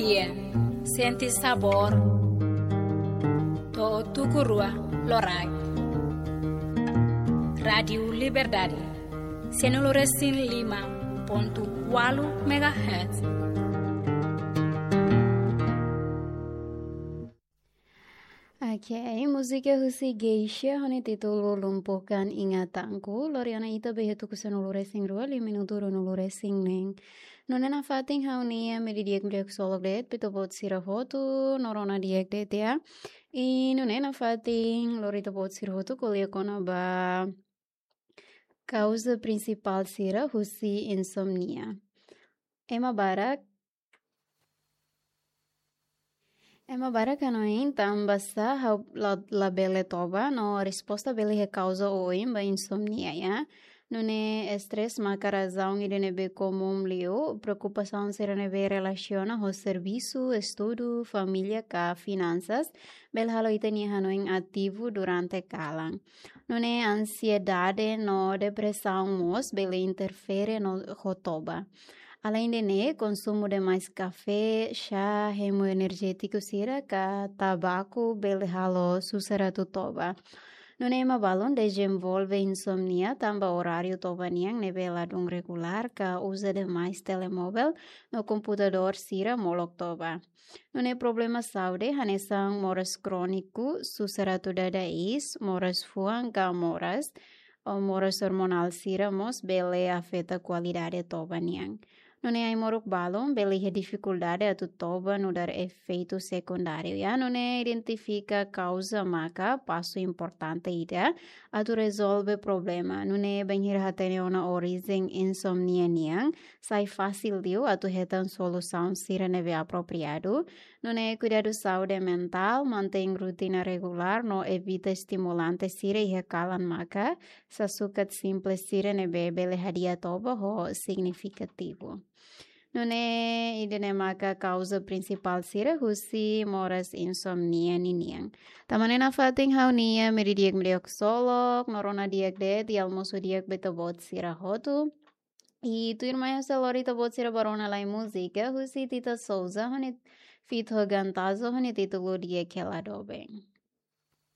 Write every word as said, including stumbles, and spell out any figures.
Sente sabór. To'o tuku rua loraik. Rádiu Liberdade. Sianulu resin lima pontu ualu megahertz. Ok, múzika husi Geisha, ho nia títulu Lumpuhkan Ingatanku, lori ona ita ba iha tuku sanulu resin rua, liu minutu ruanulu resin neen. Nune'e nafatin ha'u-nia meiudia di'ak ksolok de'it ba ita-boot sira hotu, no rona di'ak de'it ya. I nune'e nafatin lori ita-boot sira hotu ko'alia kona-ba kauza prinsipál sira husi insomnia. Ema barak, ema barak hanoin tanba sá ha'u la, labele toba, no resposta bele iha kauza oioin ba insomnia ya. Nune'e estrés maka razaun ida ne'ebé komún liu, preokupasaun sira ne'ebé relasiona ho servisu, estudu, família ka finansas, bele halo ita-nia hanoin ativu durante kalan. Nune'e ansiedade no depresaun mós bele interfere no ho toba. Aleinde ne'e, konsumu demais kafé, xá, hemu enerjétiku sira ka tabaku bele halo susar atu toba. Nune'e ema balun dezenvolve insomnia tanba oráriu toba nian ne'ebé ladún regulár ka uza demais telemovel no komputadór sira molok toba. Nune'e problema saúde hanesan moras króniku, susar atu dada iis, moras fuan ka moras, ou moras ormonál sira mós bele afeta kualidade toba nian. Nune'e ai-moruk balun bele iha difikuldade atu toba nu'udar efeitu sekundáriu ya. Nune'e identifika kauza maka pasu importante ida atu rezolve problema. Nune'e bainhira hatene ona orijen insomnia nian, sai fasil liu atu hetan solusaun sira ne'ebé apropriadu. Nune'e kuidadu saúde mentál, mantein rotina regulár no evita estimulante sira iha kalan maka sasukat simples sira ne'ebé bele hadi'a toba ho signifikativu. Nune'e ida-ne'e maka kauza prinsipál sira husi moras insomnia ninian. Tanba ne'e nafatin ha'u-nia meiudia di'ak ksolok, no rona di'ak de'it, i almosu di'ak ba ita-boot sira hotu. I tuirmai ha'u sei lori ita-boot sira ba rona lai múzika husi Tita Souza, ho nia feat ho Gantazo, ho nia títulu Di'ak Hela Doben.